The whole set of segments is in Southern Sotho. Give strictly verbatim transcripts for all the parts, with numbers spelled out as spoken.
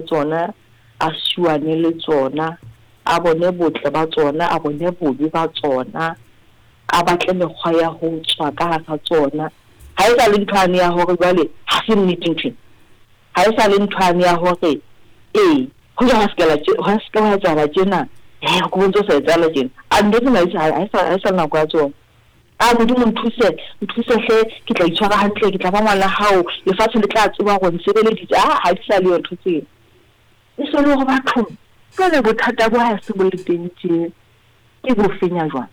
Tsona, a suwane le tsona, a bone botle ba tsona, a bone bobe ba tsona, a batle mekgwa ya ho tswa ka hara tsona. Ha e sa le ntho yane ya hore jwale ha se nnete nthwena, ha e sa le ntho yane ya hore ee hoja hwa se ke hwa se ke hwa etsahala tjena, hee ho ntso sa etsahala tjena. A ntho tsena ha e sa ha e sa le nako ya tsona. A Modimo nthuse, nthuse hle, ke tla itshwara hantle, ke tla ba ngwana hao, lefatshe le tla tseba hore nsebeleditse. Ah, ha di sa le yo ntho tseo. E se le hore bathong jwale bothata bo ha se bo le teng tje, ke bo fenya jwang?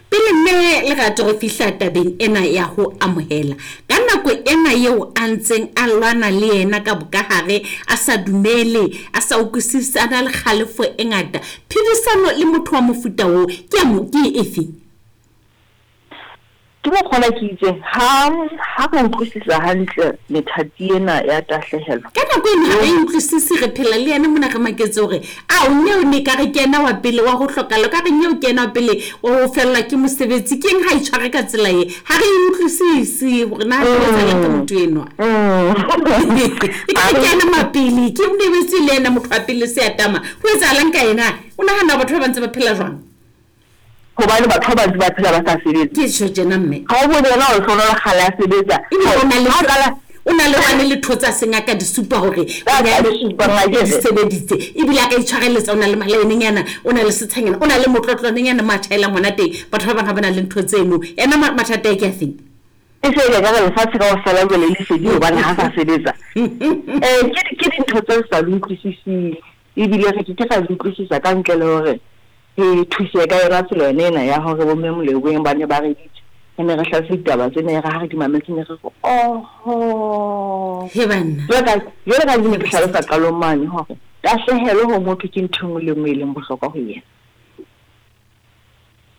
Pele mme Lerato re fihla tabeng ena ya ho amohela, ka nako ena eo a ntseng a lwana le yena ka bokahare, a sa dumele, a sa utlwisise, a na le kgalefo e ngata, phedisano le motho wa mofuta oo ke ya ke efe? Ke mokgwa ke itseng ha ha re utlwisisa hantle methati ena ya tahlehelo. Ka nako eno ha re utlwisise, re phela le yena mona re maketse hore a o nyeo ne ka re ke yena wa pele wa ho hlokahala, ka re nyeo ke yena wa pele wa ho fellwa ke mosebetsi, ke eng ha itshware ka tsela e? Ha re utlwisise hore na ho etsahalang ka motho enwa. E ka re ke yena mapele, ke o lebetse le yena motho wa pele se atama. Ho etsahalang ka yena? O nahana batho ba ba ntse ba phela jwang? Hobane batho ba bantse ba phela ba sa sebetse. Ke tjho tjena mme. Ha o bone yena o hlola kgale a sebetsa. O na le o na le hwane le thotsa sengaka di supa hore o di sebeditse. Ebile a ka itshwareletsa, o na le malaenenyana, o na le setshanyana, o na le motlotlwanenyana mo a tjhaelang hona teng. Batho ba bang ha ba na le ntho tseno. Yena mathata a ke a feng? E se e ka re lefatshe kaofela jwale le fedile hobane ha sa sebetsa. Eh ke ke dintho tse sa di utlwisising, ebile re ke ke ra di utlwisisa ka ntle le hore re thuse ka yona tsela yona ena ya hore bo mme Moleboeng ba ne ba re ditse. Re ne re hlalose ditaba tsena, e re ha re di mametse ne re re oho. He banna. Jwale ka ke ne ke hlalosa qalong mane hore tahlehelo ho motho ke ntho e nngwe le nngwe e leng bohlokwa ho yena.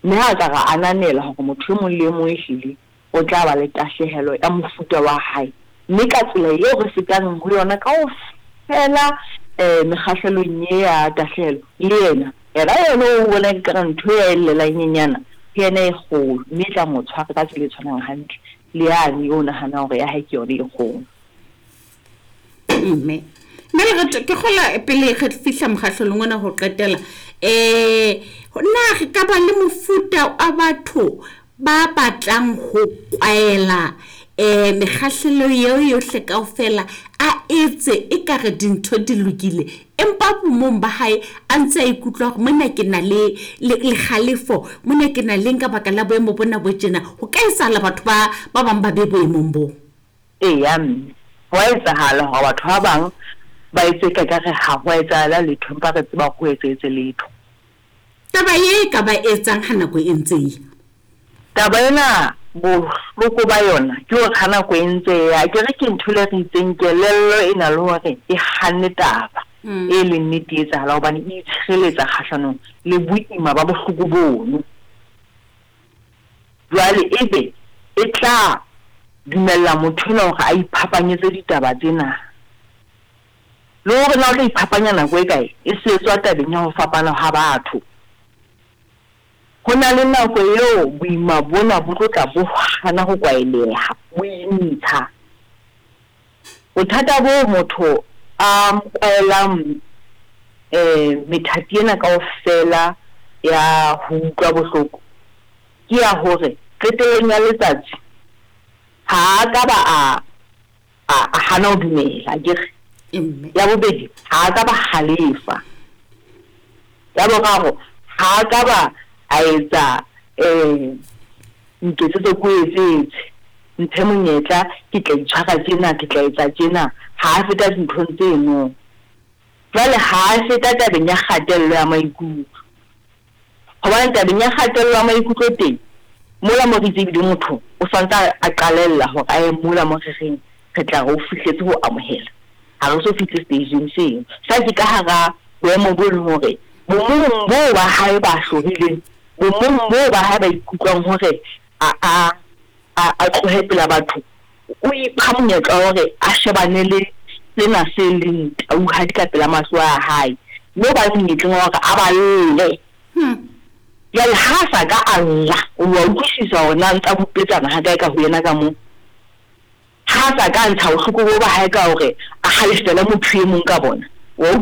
Mme ha ka ra ananela hore motho e mong le e mong ehlile o tla ba le tahlehelo ya mofuta wa hae, mme ka tsela eo re fetang ho yona kaofela um mekgahlelong e ya tahlehelo, le yena yena yena o bona ekare ntho e a e llelang nyenyana ke yena e kgolo, mme e tla mo tshwara ka tsela e tshwanang hantle le yane eo nahanang hore ya hae ke yona e kgolo. Mme mme Lerato, ke kgola pele re fihla mokgahlelong ona ho qetela, eh na re ka ba le mofuta wa batho ba batlang ho kwaela eh mekgahlelo eo yohle kaofela, a etse ekare dintho di lokile, empa bomong ba hae a ntse a ikutlwa hore mona ke na le le kgalefo, mona ke na le nka baka la boemo bona bo tjena. Ho ka etsahala batho ba ba bang ba be boemong bo? Eya mme, ho a etsahala hore batho ba bang ba etse ka ekare ha ho a etsahala letho, empa re tseba hore ho etsahetse letho. Taba e ka ba etsang ha nako e ntse e ya? Taba ena bohloko ba yona ke hore ha nako e ntse e ya, ke re ke ntho le re itseng kelello e na le hore e hanne taba e leng nnete e etsahala, hobane e itshireletsa kgahlanong le boima ba bohloko bono. Jwale ebe e tla dumella motho enwa hore a iphapanyetse ditaba tsena. Le hore na o tla iphapanya nako e kae, e se tswa tabeng ya ho fapana ha batho. Ho na le nako eo boima bona bo tlo tla bo hana ho kwaeleha, bo intsha. Bothata bo motho a kwaelang eh methati ena kaofela ya ho utlwa bohloko ke ya hore qetellong ya letsatsi ha a ka ba a a hana ho dumela, akere. Ya bobedi, ha a ka ba halefa. Ya boraro, ha a ka ba a etsa eh nketsetse ko etsetse, mphe monyetla, ke tla itshwara tjena, ke tla etsa tjena. Ha a feta dinthong tseno. Jwale ha a feta tabeng ya kgatello ya maikutlo, hobane tabeng ya kgatello ya maikutlo teng mola mo re itse ebile motho o santse a qalella hore a ye mola mo re reng re tla re o fihletse ho amohela, ha re so fihle stageng seo. Sa ke ka hara boemo bo leng hore bomong boo ba hae ba hlorileng, bomong boo ba hae ba ikutlwang hore a a a tlohe pela batho, o ipha monyetla wa hore a shebane le sena se leng tauhadi ka pela mahlo a hae, mme o ba monyetleng wa hore a ba lle. Jwale ha a sa ka a lla, o wa utlwisisa hore na ntsa bupetsana ha kae ka ho yena ka moo. Ha a sa ka ntsha bohloko bo ba hae ka hore a halefele motho e mong ka bona, Wa utlwa?